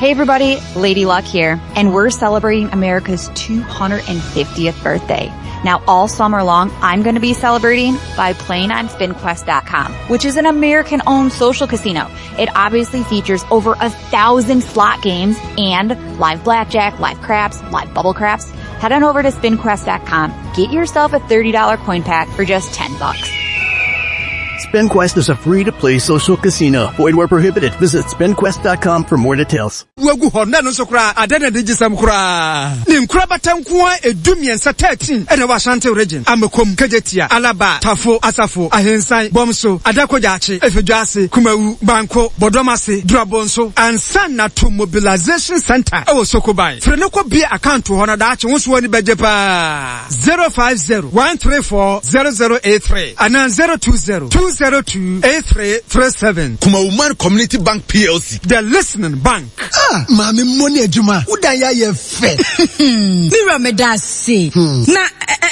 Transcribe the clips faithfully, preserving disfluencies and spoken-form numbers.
Hey everybody, Lady Luck here, and we're celebrating America's two hundred fiftieth birthday. Now all summer long, I'm gonna be celebrating by playing on spin quest dot com, which is an American-owned social casino. It obviously features over a thousand slot games and live blackjack, live craps, live bubble craps. Head on over to spin quest dot com, get yourself a thirty dollar coin pack for just ten bucks. SpinQuest is a free-to-play social casino. Void where prohibited. Visit spin quest dot com for more details. Wagu hɔ na no nso koraa ada na de gyesɛm koraa. Ne nkorabata nko a edu mmiɛnsa thirteen ɛna wɔ Ashanti region. Amakom, Kejetia, Alaba, Tafo, Asafo, Ahensan, Bomso, Adakogyaakye, Efedwase, Kumawu, Banko, Bɔdɔmase, Durabonso, ansa na to mobilization center ɛwɔ Sokoban. Firi ne kɔ bie account hɔ na daakye wo nso w'ani bɛgye paa. zero five zero one three four zero zero eight three anaa zero two zero two zero two eight three three seven. Kumawuman Community Bank P L C. The Listening Bank. Ah, maame mmɔ ne adwuma. Wodan ya yɛ fɛ. Mira me da se. Hmm. Na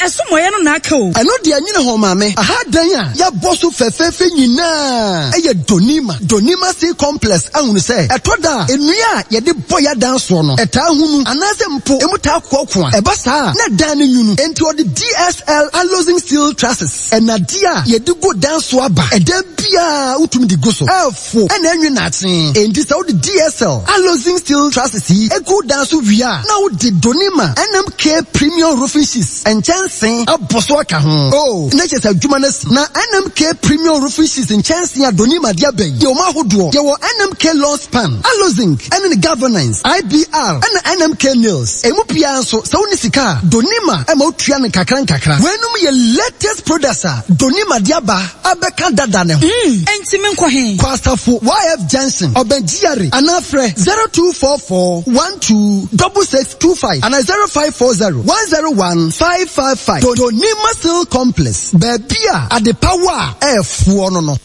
ɛso mɔyɛ no na aka o. Ɛno deɛ nyine ho maame. Aha dan a yɛabɔ so fɛfɛɛfɛ nyinaa. Ɛyɛ Donima. Donima Sea Complex ahunu sɛ ɛtɔ da a nnua a yɛde bɔ yɛ dan soɔ no ɛtaa hunu anaasɛ mpo emu taa koakoa. Ɛba saa na dan no nwunu. Enti ɔde D S L Alozing Steel Trusses ɛnade a yɛde gu dan so aba. Ɛdan biara wotumi de gu so. Ɛfo ɛna ɛnwe n'akye. Enti sɛ wode D S L Alozing Steel Trusses yi egu dan so wie a na wode Donima N M K Premium Roofing Sheets nkyɛnse abɔ so aka ho. Oh, na kyerɛ sɛ adwuma no asi. Na N M K Premium Roofing Sheets nkyɛnse a Donima de aba yi yɛ wɔn ahodoɔ. Yɛwɔ N M K Long Span, Alozing, ɛne ne Governance, I B R, ɛna N M K Nails. Emu biara nso, sɛ wonni sika a, Donima ɛma wotua no nkakra nkakra. Weinom yɛ latest products a Donima de aba abɛka dada ne ho. Mm, enti menkɔ he? Kɔ Asafo Y F Junction, Ɔbɛn G R A, anaa frɛ zero two four four one two double six two five anaa zero five four zero one zero one five five five. Donima Steel Complex, baabi a adepawa a ɛɛfoɔ no no.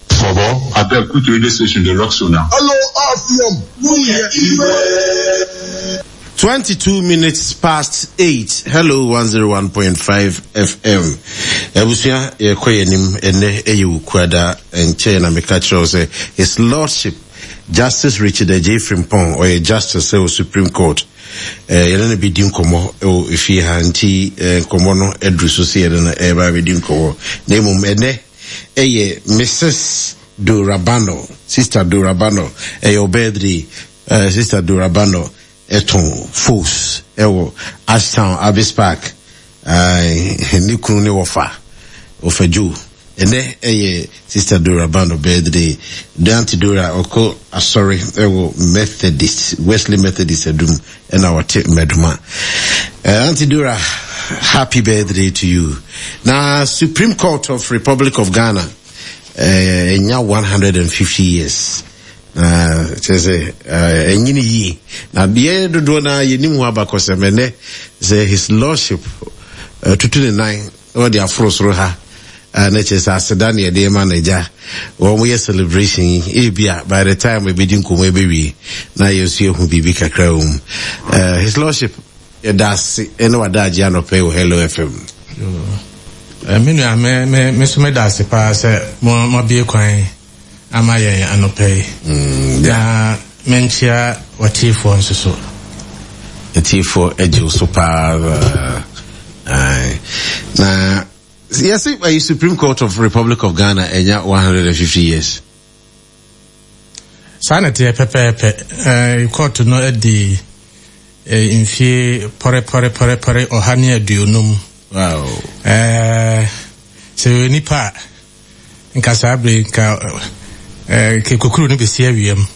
Bobo, I beg, put radio station, the rock so now. Hello, R F M. twenty-two minutes past eight. Hello, one zero one point five F M. Ebusia, ye kɔ yenim ene eye wukuada enche na meka kyerɛ sɛ His Lordship Justice Richard Adjei Frimpong ɔyɛ Justice ɛwɔ Supreme Court. Eh, yɛne no bɛdi nkɔmmɔ ɛwɔ efie ha nti, eh, nkɔmmɔ no aduru so sɛ yɛne no ɛreba abɛdi nkɔmmɔ. Na mmom ɛnɛ ɛyɛ Missus Dorabano, Sister Dorabano, ɛyɛ wo birthday. Eh, Sister Dorabano ɛtɔn Fos ɛwɔ Ashtown Abbey Park. Ai, ne kunu ne wɔfa, wɔfa Joe. Ɛnɛ ɛyɛ Sister Dorabano birthday. Auntie Dora ɔkɔ asɔre ɛwɔ Methodist, Wesley Methodist adum ɛna ɔte Meduma. Eh, Auntie Dora, happy birthday to you. Na Supreme Court of Republic of Ghana, eh, ɛnya one hundred and fifty years. Na kyerɛ sɛ, eh, ɛnyini yie. Na deɛ dodoɔ na yɛnim ho abakɔsɛm ɛnɛ sɛ His Lordship, eh, tutu ne nan na ɔde aforo soro ha. Eh, na kyerɛ sɛ aseda ne yɛde ma n'agya. Wɔn yɛ celebration yi, ebia by the time ebedi nkɔmmɔ ebewie na yɛn nso yɛhu biribi kakra wɔ mu. Eh, His Lordship, yɛda ase ɛne wada agye anɔpɛ wɔ Hello F M. Eh, me nua, me, me, me nso meda ase paa sɛ mo, mo abue kwan ama yɛn anɔpɛ yi. Mm, Na menkyia wɔtiefoɔ nso so. Atiefoɔ agye wo so paa. Aye. Na yɛse ayi Supreme Court of Republic of Ghana ɛnya one hundred and fifty years. Saa na ɛteɛ pɛpɛɛpɛ. Eh, court no adi, eh, mfie pɔre, pɔre, pɔre, pɔre ɔha ne aduonum. Wow. Eh, sɛ ɔyɛ nipa a, nka saa bere nka, eh, kekukuru no bɛsi awiam.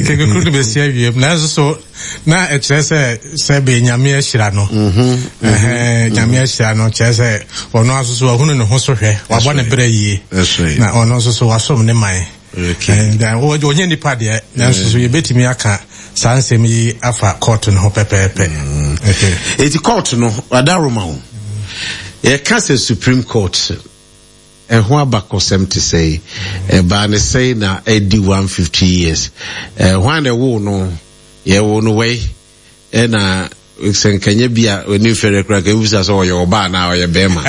Kekukuru no bɛsi awiam. Nanso so, na ɛkyerɛ sɛ, sɛ bɛ Nyame ahyira no. Mm-hmm. Mm-hmm. Ɛhɛn, Nyame ahyira no, kyerɛ sɛ, ɔno nso so, wahunu ne ho so hwɛ, wabɔ ne berɛ yie. That's right. Na ɔno nso so, wasom ne man. Okay. And, uh, ɔnyɛ nipa deɛ, nanso so yɛbɛtumi aka saa nsɛm yi afa court no ho pɛpɛɛpɛ. Mm. Okay. Eti court no, wadaroma wo. Yɛka sɛ Supreme Court, ɛho abakɔsɛm te sɛ, ɛbaa ne sɛn na ɛdi one fifty years. Eh, hwan na ɛwoo no? Yɛwoo no wɛi. Ɛna sɛ nkanyɛ bi a ɔni mfɛrɛ koraa, ka ebisa sɛ ɔyɛ ɔbaa anaa ɔyɛ bɛrima.